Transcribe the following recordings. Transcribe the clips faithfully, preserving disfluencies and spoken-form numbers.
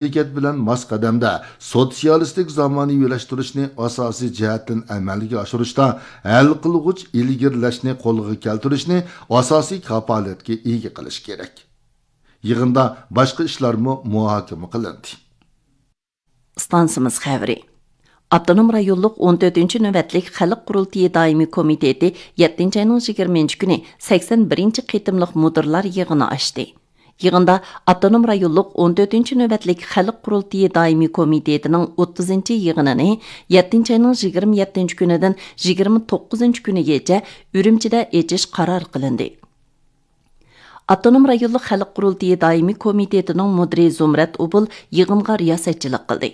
ھەرىكەت بىلەن ماس قەدەمدە سوتسىيالىستىك زامانىۋىلاشتۇرۇشنى ئاساسىي جەھەتتىن ئەمەلگە ئاشۇرۇشتا ھەل قىلغۇچ ئىلگىرىلەشنى قولغا كەلتۈرۈشنى ئاساسىي كاپالەتكە ئىگە قىلىش كېرەك. يىغىندا باشقا ئىشلارمۇ مۇھاكىمە قىلىندى. ئىستانسىمىز خەۋىرى. ئاپتونوم رايونلۇق ئون تۆتىنچى نۆۋەتلىك خەلق قۇرۇلتىيى دائىمىي كومىتېتى يەتتىنچى ئاينىڭ يىگىرمىنچى كۈنى سەكسەن بىرىنچى قېتىملىق مۇدىرلار يىغىنى ئاچتى. يىغىندا ئاپتونوم رايونلۇق ئون تۆتىنچى نۆۋەتلىك خەلق قۇرۇلتىيى دائىمىي كومىتېتىنىڭ ئوتتۇزىنچى يىغىنىنى يەتتىنچى ئاينىڭ يىگىرمە يەتتىنچى كۈنىدىن يىگىرمە توققۇزىنچى كۈنىگىچە ئۈرۈمچىدە ئېچىش قارار قىلىندى. ئاپتونوم رايونلۇق خەلق قۇرۇلتىيى دائىمىي كومىتېتىنىڭ مۇدىرى زۇمرەت ئوبۇل يىغىنغا رىياسەتچىلىك قىلدى.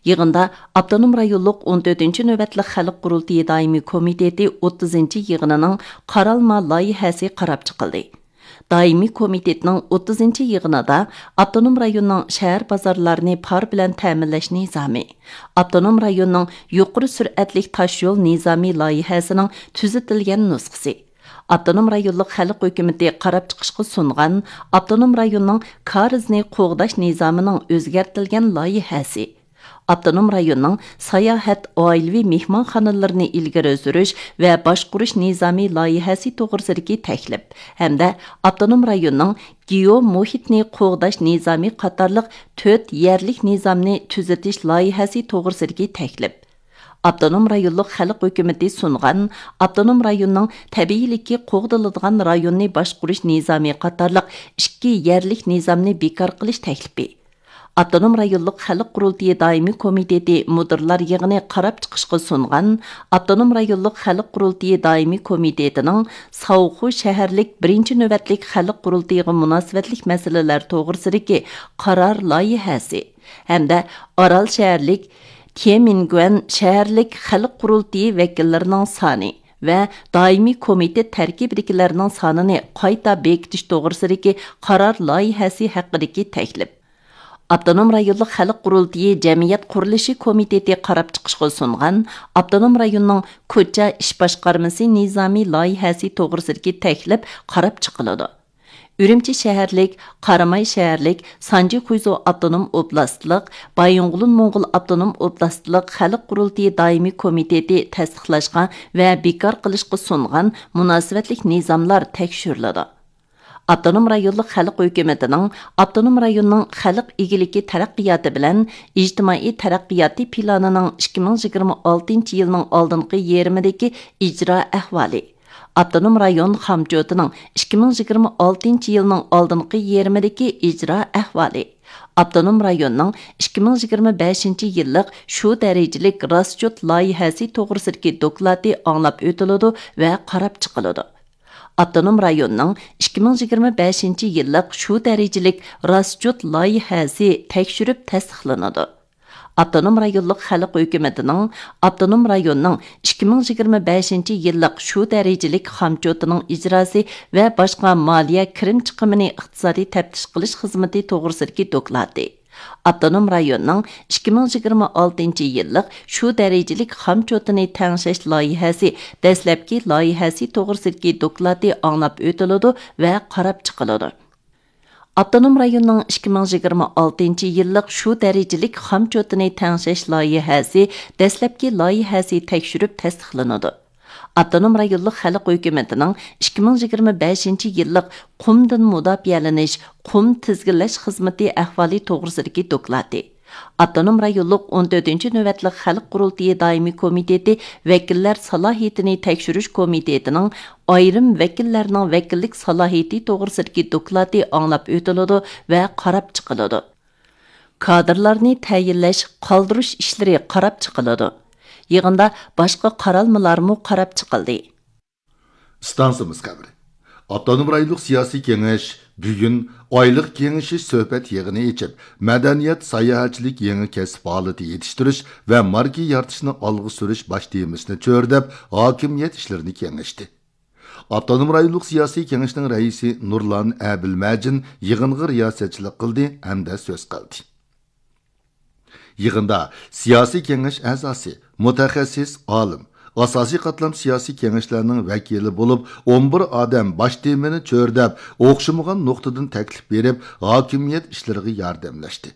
يىغىندا ئاپتونوم رايونلۇق ئون تۆتىنچى نۆۋەتلىك خەلق قۇرۇلتىيى دائىمىي كومىتېتى ئوتتۇزىنچى يىغىنىنىڭ قارالما لايىھەسى قاراپ چىقىلدى. دائىمىي كومىتېتنىڭ ئوتتۇزىنچى يىغىنىدا ئاپتونوم رايوننىڭ شەھەر بازارلارنى پار بىلەن تەمىنلەش نىزامى، ئاپتونوم رايوننىڭ يۇقىرى سۈرئەتلىك تاشيول نىزامى لايىھەسىنىڭ تۈزىتىلگەن نۇسخىسى، ئاپتونوم رايونلۇق خەلق ھۆكۈمىتى قاراپ چىقىشقا سۇنغان ئاپتونوم رايوننىڭ كارىزنى قوغداش نىزامىنىڭ ئۆزگەرتىلگەن لايىھەسى، ئاپتونوم رايوننىڭ ساياھەت، ئائىلىۋى مېھمانخانىلىرىنى ئىلگىرى سۈرۈش ۋە باشقۇرۇش نىزامى لايىھەسى توغرىسىدىكى تەكلىپ ھەمدە ئاپتونوم رايوننىڭ گېئو مۇھىتنى قوغداش نىزامى قاتارلىق تۆت يەرلىك نىزامنى تۈزىتىش لايىھەسى توغرىسىدىكى تەكلىپ، ئاپتونوم رايونلۇق خەلق ھۆكۈمىتى سۇنغان ئاپتونوم رايوننىڭ تەبىئىيلىكى قوغدىلىدىغان رايوننى باشقۇرۇش نىزامى قاتارلىق ئىككى يەرلىك نىزامنى بىكار قىلىش تەكلىپى، ئاپتونوم رايونلۇق خەلق قۇرۇلتىيى دائىمىي كومىتېتى مۇدىرلار يىغىنى قاراپ چىقىشقا سۇنغان ئاپتونوم رايونلۇق خەلق قۇرۇلتىيى دائىمىي كومىتېتىنىڭ ساۋخۇ شەھەرلىك بىرىنچى نۆۋەتلىك خەلق قۇرۇلتىيىغا مۇناسىۋەتلىك مەسىلىلەر توغرىسىدىكى قارار لايىھەسى ھەمدە ئارال شەھەرلىك تيەنئەنگۈەن شەھەرلىك خەلق قۇرۇلتىيى ۋەكىللىرىنىڭ سانى ۋە دائىمىي كومىتېت تەركىبىدىكىلەرنىڭ سانىنى قايتا بېكىتىش توغرىسىدىكى قارار لايىھەسى ھەققىدىكى تەكلىپ، ئاپتونوم رايونلۇق خەلق قۇرۇلتىيى جەمئىيەت قۇرۇلۇشى كومىتېتى قاراپ چىقىشقا سۇنغان ئاپتونوم رايوننىڭ كوچا ئىش باشقارمىسى نىزامى لايىھەسى توغرىسىدىكى تەكلىپ قاراپ چىقىلىدۇ. ئۈرۈمچى شەھەرلىك، قاراماي شەھەرلىك، سانجى خۇيزۇ ئاپتونوم ئوبلاستلىق، بايىنغولىن موڭغۇل ئاپتونوم ئوبلاستلىق خەلق قۇرۇلتىيى دائىمىي كومىتېتى تەستىقلاشقا ۋە بىكار قىلىشقا سۇنغان مۇناسىۋەتلىك نىزاملار تەكشۈرۈلىدۇ. ئاپتونوم رايونلۇق خەلق ھۆكۈمىتىنىڭ ئاپتونوم رايوننىڭ خەلق ئىگىلىكى تەرەققىياتى بىلەن ئىجتىمائىي تەرەققىياتى پىلانىنىڭ ئىككى مىڭ يىگىرمە ئالتىنچى يىلنىڭ ئالدىنقى يېرىمىدىكى ئىجرا ئەھۋالى، ئاپتونوم رايون خامچوتىنىڭ ئىككى مىڭ يىگىرمە ئالتىنچى يىلنىڭ ئالدىنقى يېرىمىدىكى ئىجرا ئەھۋالى، ئاپتونوم رايوننىڭ ئىككى مىڭ يىگىرمە بەشىنچى يىللىق شۇ دەرىجىلىك راسچوت لايىھەسى توغرىسىدىكى دوكلاتى ئاڭلاپ ئۆتۈلىدۇ ۋە قاراپ چىقىلىدۇ. ئاپتونوم رايوننىڭ ئىككى مىڭ يىگىرمە بەشىنچى يىللىق شۇ دەرىجىلىك راسچوت لايىھەسى تەكشۈرۈپ تەستىقلىنىدۇ. ئاپتونوم رايونلۇق خەلق ھۆكۈمىتىنىڭ، ئاپتونوم رايوننىڭ ئىككى مىڭ يىگىرمە بەشىنچى يىللىق شۇ دەرىجىلىك خامچوتىنىڭ ئىجراسى ۋە باشقا مالىيە كىرىم چىقىمىنى ئىقتىسادىي تەپتىش قىلىش خىزمىتى توغرىسىدىكى دوكلاتى، ئاپتونوم رايوننىڭ ئىككى مىڭ يىگىرمە ئالتىنچى يىللىق شۇ دەرىجىلىك خامچوتىنى تەڭشەش لايىھەسى دەسلەپكى لايىھەسى توغرىسىدىكى دوكلاتى ئاڭلاپ ئۆتۈلىدۇ ۋە قاراپ چىقىلىدۇ. ئاپتونوم رايوننىڭ ئىككى مىڭ يىگىرمە ئالتىنچى يىللىق شۇ دەرىجىلىك خامچوتىنى تەڭشەش لايىھەسى دەسلەپكى لايىھەسى تەكشۈرۈپ تەستىقلىنىدۇ. ئاپتونوم رايونلۇق خەلق ھۆكۈمىتىنىڭ ئىككى مىڭ يىگىرمە بەشىنچى يىللىق قۇمدىن مۇداپىئەلىنىش، قۇم تىزگىنلەش خىزمىتى ئەھۋالى توغرىسىدىكى دوكلاتى، ئاپتونوم رايونلۇق ئون تۆتىنچى نۆۋەتلىك خەلق قۇرۇلتىيى دائىمىي كومىتېتى ۋەكىللەر سالاھىيىتىنى تەكشۈرۈش كومىتېتىنىڭ ئايرىم ۋەكىللەرنىڭ ۋەكىللىك سالاھىيىتى توغرىسىدىكى دوكلاتى ئاڭلاپ ئۆتۈلىدۇ ۋە قاراپ چىقىلىدۇ. كادىرلارنى تەيىنلەش، قالدۇرۇش ئىشلىرى قاراپ چىقىلىدۇ. يىغىندا باشقا قارالمىلارمۇ قاراپ چىقىلدى. ئىستانسىمىز خەۋىرى. ئاپتونوم رايونلۇق سىياسىي كېڭەش بۈگۈن ئايلىق كېڭىشىش سۆھبەت يىغىنى ئېچىپ، مەدەنىيەت، ساياھەتچىلىك يېڭى كەسىپ ھالىتى يېتىشتۈرۈش ۋە ماركا يارىتىشنى ئالغا سۈرۈش باش تېمىسىنى چۆرىدەپ، ھاكىمىيەت ئىشلىرىنى كېڭەشتى. ئاپتونوم رايونلۇق سىياسىي كېڭەشنىڭ رەئىسى نۇرلان ئەبىلمەجىن يىغىنغا رىياسەتچىلىك قىلدى ھەمدە سۆز قىلدى. يىغىندا سىياسىي كېڭەش ئەزاسى، مۇتەخەسسىس ئالىم، ئاساسىي قاتلام سىياسىي كېڭەشلەرنىڭ ۋەكىلى بولۇپ، ئون بىر ئادەم باش تېمىنى چۆرىدەپ، ئوخشىمىغان نۇقتىدىن تەكلىپ بېرىپ، ھاكىمىيەت ئىشلىرىغا ياردەملەشتى.